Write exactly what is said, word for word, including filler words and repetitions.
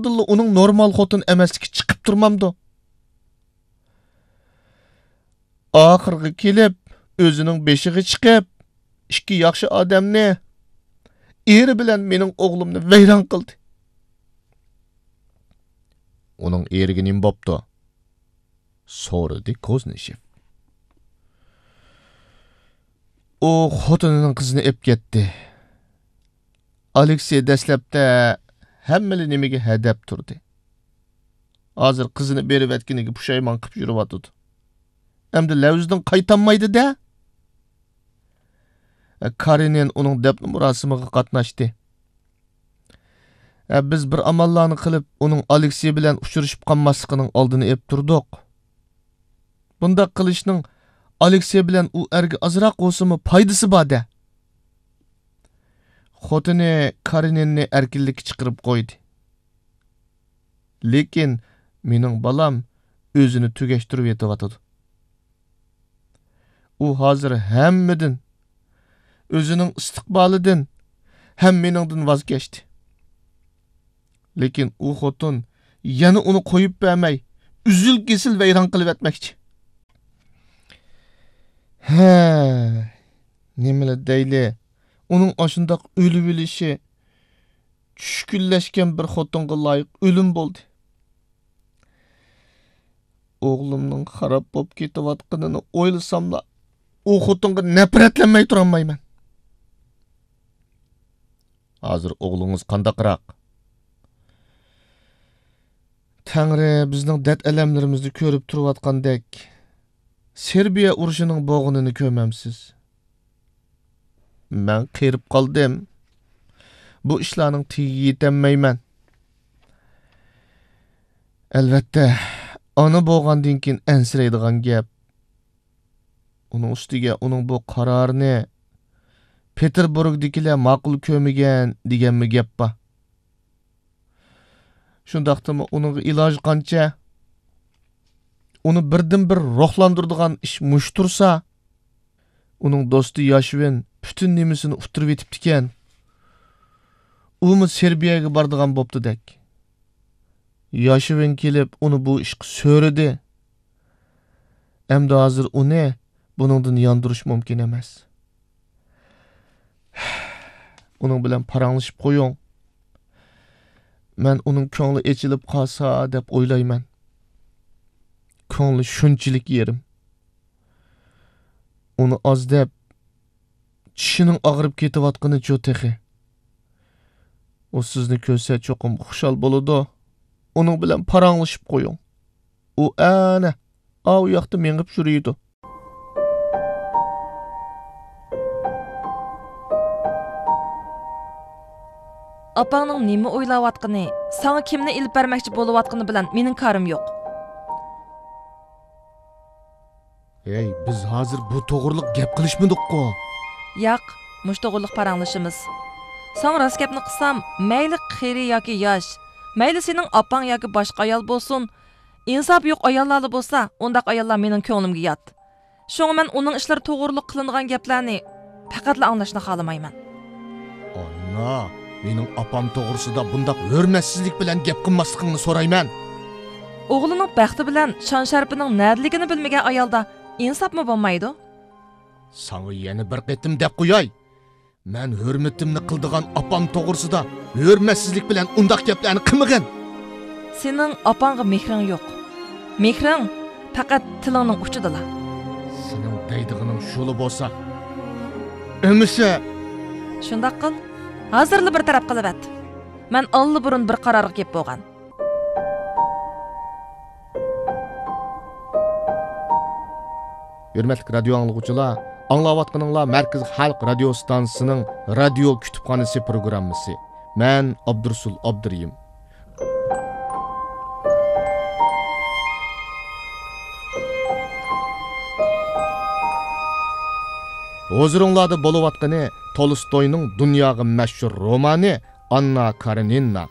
بولۇشتىنلا ئۇنىڭ نورمال خوتۇن ئەمەسلىكى چىقىپ تۇرمامدۇ؟ ئاخىرغا كېلىپ، ئۆزىنىڭ بېشىغا چىقىپ، ئىككى ياخشى ئادەمنى، ئېرى بىلەن مېنىڭ ئوغلۇمنى ۋەيران قىلدى. ئۇنىڭ ئېرىگە نېمە بوپتۇ؟ سورىدى كوزنىشېف. ئۇ خوتۇنىنىڭ قىزىنى ئېلىپ كەتتى. ئالېكسېي دەسلەپتە ھەممىلا نېمىگە ھەدەپ تۇردى. ھازىر قىزىنى بېرىۋەتكىنىگە پۇشايمان قىلىپ يۈرۈۋاتىدۇ. ئەمدى لەۋزىدىن قايتالمايدۇ-دە. كارېنىن ئۇنىڭ دەپنە مۇراسىمىغا قاتناشتى. ھە، بىز بىر ئاماللارنى قىلىپ، ئۇنىڭ ئالېكسېي بىلەن ئۇچرىشىپ قالماسلىقىنىڭ ئالدىنى ئېلىپ تۇردۇق. بۇنداق قىلىشنىڭ ئالېكسېي بىلەن ئۇ ئەرگە ئازراق بولسىمۇ پايدىسى بار-دە. خوتۇنى كارېنىننى ئەركىنلىككە چىقىرىپ قويدى. لېكىن مېنىڭ بالام ئۆزىنى تۈگەشتۈرۈۋېتىۋاتىدۇ. ئۇ ھازىر ھەممىدىن، ئۆزىنىڭ ئىستىقبالىدىن ھەم مېنىڭدىن ۋاز كەچتى. لېكىن ئۇ خوتۇن يەنە ئۇنى قويۇپ بەرمەي، ئۈزۈل-كېسىل ۋەيران قىلىۋەتمەكچى. ھە، نېمىلا دەيلى، ئۇنىڭ ئاشۇنداق ئۆلۈۋېلىشى چۈشكۈنلەشكەن بىر خوتۇنغا لايىق ئۆلۈم بولدى. ئوغلۇمنىڭ خاراب بولۇپ كېتىۋاتقىنىنى ئويلىساملا، ئۇ خوتۇنغا نەپرەتلەنمەي تۇرالمايمەن. ھازىر ئوغلىڭىز قانداقراق؟ تەڭرى بىزنىڭ دەرد-ئەلەملىرىمىزنى كۆرۈپ تۇرۇۋاتقاندەك، سېربىيە ئۇرۇشىنىڭ بولغىنىنى كۆرمەمسىز؟ مەن قېرىپ قالدىم. بۇ ئىشلارنىڭ تېگىگە يېتەلمەيمەن. ئەلۋەتتە، ئانا بولغاندىن كېيىن ئەنسىرەيدىغان گەپ. ئۇنىڭ ئۈستىگە ئۇنىڭ بۇ قارارىنى پېتېربۇرگدىكىلەر ماقۇل كۆرمىگەن دېگەنمۇ گەپ بار. شۇنداقتىمۇ ئۇنىڭغا ئىلاجى قانچە؟ ئۇنى بىردىنبىر روھلاندۇرىدىغان ئىش مۇشۇ تۇرسا، ئۇنىڭ دوستى ياشۋىن پۈتۈن نېمىسىنى ئۇتتۇرۇۋېتىپتىكەن. ئۇمۇ سېربىيەگە بارىدىغان بوپتۇدەك. ياشۋىن كېلىپ ئۇنى بۇ ئىشقا سۆرىدى. ئەمدى ھازىر ئۇنى بۇنىڭدىن ياندۇرۇش مۇمكىن ئەمەس. ئۇنىڭ بىلەن پاراڭلىشىپ قويۇڭ. مەن ئۇنىڭ كۆڭلى ئېچىلىپ قالسا دەپ ئويلايمەن. كۆڭلى شۇنچىلىك يېرىم. ئۇنى ئاز دەپ، چىشىنىڭ ئاغرىپ كېتىۋاتقىنىچۇ تېخى. ئۇ سىزنى كۆرسە چوقۇم خۇشال بولىدۇ. ئۇنىڭ بىلەن پاراڭلىشىپ قويۇڭ. ئۇ ئەنە ئاۋۇ ياقتا مېڭىپ يۈرىدۇ. ئاپاڭنىڭ نېمە ئويلاۋاتقىنى، ساڭا كىمنى ئېلىپ بەرمەكچى بولۇۋاتقىنى بىلەن مېنىڭ كارىم يوق. ھەي، بىز ھازىر بۇ توغرىلىق گەپ قىلىشمىدۇققۇ؟ ياق، مۇشۇ توغرىلىق پاراڭلىشىمىز. ساڭا راست گەپنى قىلسام، مەيلى قېرى ياكى ياش، مەيلى سېنىڭ ئاپاڭ ياكى باشقا ئايال بولسۇن، ئىنساپى يوق ئاياللارلا بولسا، ئۇنداق ئاياللار مېنىڭ كۆڭلۈمگە يات. شۇڭا مەن ئۇنىڭ ئىشلىرى توغرۇلۇق قىلىنغان گەپلەرنى پەقەتلا ئاڭلاشنى خالىمايمەن. ئانا، مېنىڭ ئاپام توغرىسىدا بۇنداق ھۆرمەتسىزلىك بىلەن گەپ قىلماسلىقىڭنى سورايمەن. ئوغلىنىڭ بەختى بىلەن شان-شەرىپىنىڭ نەدىلىكىنى بىلمىگەن ئايالدا ئىنساپمۇ بولمايدۇ. ساڭا يەنە بىر قېتىم دەپ قوياي. مەن ھۆرمىتىمنى قىلىدىغان ئاپام توغرىسىدا ھۆرمەتسىزلىك بىلەن ئۇنداق گەپلەرنى قىلمىغىن. سېنىڭ ئاپاڭغا مېھرىڭ يوق. مېھرىڭ پەقەت تىلىڭنىڭ ئۇچىدىلا. سېنىڭ دەيدىغىنىڭ شۇلا بولسا، ئەمىسە. شۇنداق قىل، ھازىرلا بىر تەرەپ قىلىۋەت. مەن ئاللىبۇرۇن بىر قارارغا كېلىپ بولغان. ھۆرمەتلىك رادىيو ئاڭلىغۇچىلار، ئاڭلاۋاتقىنىڭلار مەركىزىي خەلق رادىيو ئىستانسىسىنىڭ رادىيو كۇتۇپخانىسى پروگراممىسى. مەن ئابدۇرۇسۇل ئابدۇرېھىم. ھۇزۇرۇڭلاردا بولۇۋاتقىنى تولستوينىڭ دۇنياغا مەشھۇر رومانى ئاننا كارېنىنا.